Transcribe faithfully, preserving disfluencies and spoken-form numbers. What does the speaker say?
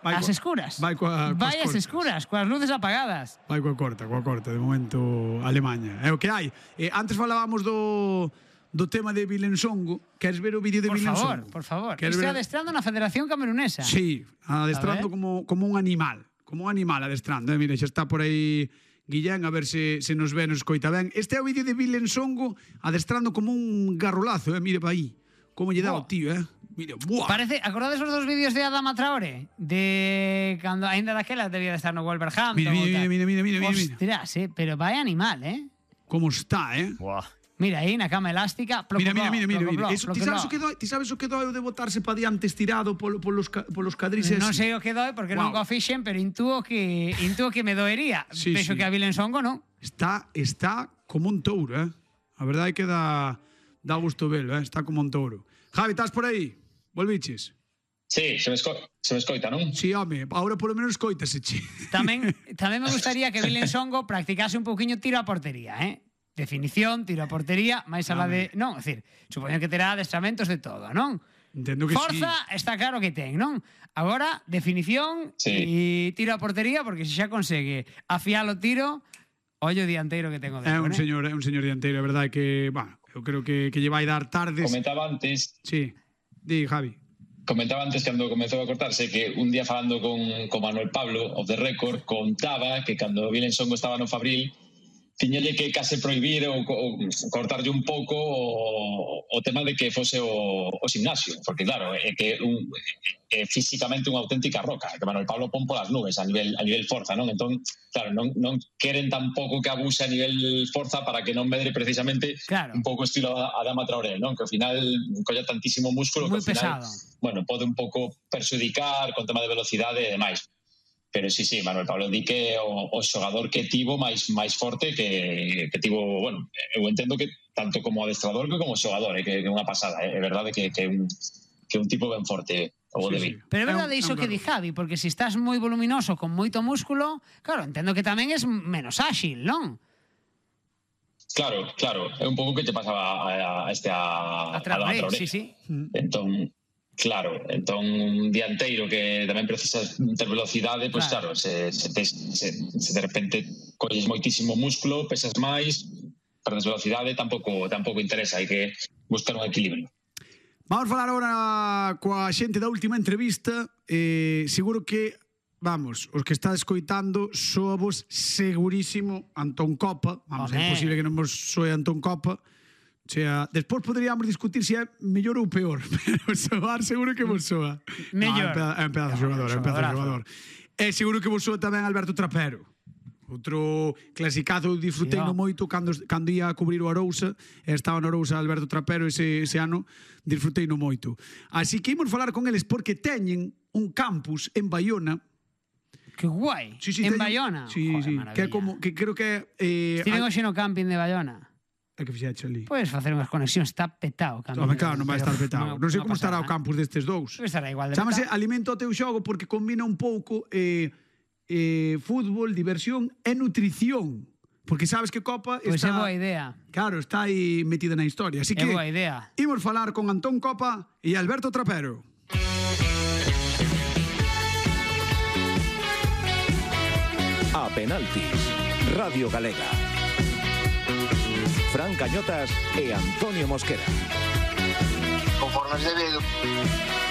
As escuras. Vai coa, vai as escuras, coas luces apagadas. Vai coa corta, coa corta. De momento, Alemanha. É o que hai. Eh, antes falábamos do... do tema de Vilensongo. Queres ver o vídeo de por Vilensongo? Por favor, por favor. Isto é adestrando na Federación Camerunesa. Sí, adestrando como, como un animal. Como un animal adestrando. Eh? Mira, xa está por aí Guillén, a ver se, se nos ve, nos coita ben. Este é o vídeo de Vilensongo adestrando como un garrolazo. Eh? Mire pa aí. Como lle dá o tío, eh? Mira, buah. Parece, acordades os dos vídeos de Adama Traoré? De cando ainda daquela debía de estar no Wolverhampton. Mira, mira, mira, mira, mira, mira. Ostras, eh? Pero vai animal, eh? Como está, eh? Buah. Mira aí na cama elástica. Mira, mira, mira, mira, mira. Eso, ti sabes o que doi? Ti sabes o que doi de botarse pa diante estirado polo, polos, polos cadrices? Non sei o que doi porque wow. non o fixen, pero intúo que intuo que me doería. Sí, Penso sí. que a Vilensongo non. Está, está como un touro, eh? A verdade é que dá, dá gusto velo, eh? Está como un touro. Javi, estás por aí? Volviches? Sí, se me, esco se me escoita, non? Sí, home, ahora polo menos escoitase, che. Tamén, tamén me gustaría que Vilensongo practicase un pouquiño tiro a portería, eh? Definición, tiro a portería, máis alá de... Non, é dicir, supoño que terá adestramentos de todo, non? Entendo que Forza sí. Está claro que ten, non? Agora, definición sí. E tiro a portería, porque se xa consegue afiar o tiro, ollo dianteiro que tengo de É un eh? señor, é un señor dianteiro, é verdade que, bah, eu creo que, que lle vai dar tardes. Comentaba antes... Sí, di, Javi. Comentaba antes, cando comezou a cortarse, que un día falando con, con Manuel Pablo, of the record, contaba que cando Vilensongo estaba no Fabril, tiñalle que case prohibir ou, ou cortarlle un pouco o, o tema de que fose o, o gimnasio, porque claro, é que un, é físicamente unha auténtica roca, que Manuel Pablo pon polas nubes a nivel a nivel forza, non? Entón, claro, non, non queren tampouco que abuse a nivel forza para que non medre precisamente claro. Un pouco estilo Adama Traoré, non? Que ao final colla tantísimo músculo Muy que ao final, pesado. bueno, pode un pouco perxudicar con tema de velocidade e demais. Pero sí, sí, Manuel Pablo di que o, o xogador que tivo máis máis forte que, que tivo, bueno, eu entendo que tanto como adestrador que como xogador, eh, que é unha pasada, é eh, verdade que que un que un tipo ben forte o Sí, de sí. Pero é verdade iso que di Javi, porque se estás moi voluminoso con moito músculo, claro, entendo que tamén es menos áxil, non? Claro, claro, é un pouco que te pasaba a, a este a, a Traoré, a Traoré. sí, sí. Entón, claro, entón un dianteiro que tamén precisa ter velocidade, pois claro, claro se, se, te, se, se de repente colles moitísimo músculo, pesas máis, perdes velocidade, tampouco tampouco interesa, hai que buscar un equilibrio. Vamos falar agora coa xente da última entrevista. Eh, seguro que, vamos, os que está escoitando soavos segurísimo Antón Copa. Vamos, é posible que non vos soe Antón Copa. O sea, despois poderíamos discutir se é mellor ou peor, pero soar seguro que vos soa. Mellor. No, é un pedazo de xogador, é un pedazo de xogador. É seguro que vos soa tamén Alberto Trapero. Outro clasicazo, disfrutei no moito cando, cando ia a cubrir o Arousa, estaba no Arousa Alberto Trapero ese, ese ano, disfrutei no moito. Así que imos falar con eles porque teñen un campus en Baiona. Que guai, sí, sí, en teñen, Baiona. Sí, Joder, sí, maravilla. que é como, que creo que... Eh, Estiven hoxe no camping de Baiona. É que fixeche ali. Podes facer unhas conexións, está petado. Home, claro, non vai estar petado. Non sei como estará o campus destes dous. Estará igual de Chámase Alimento ao teu xogo porque combina un pouco eh, eh, fútbol, diversión e nutrición. Porque sabes que Copa está... Pois é boa idea. Claro, está aí metida na historia. Así que é boa idea. Imos falar con Antón Copa e Alberto Trapero. A penaltis, Radio Galega. Fran Cañotas e Antonio Mosquera. Conforme es debido.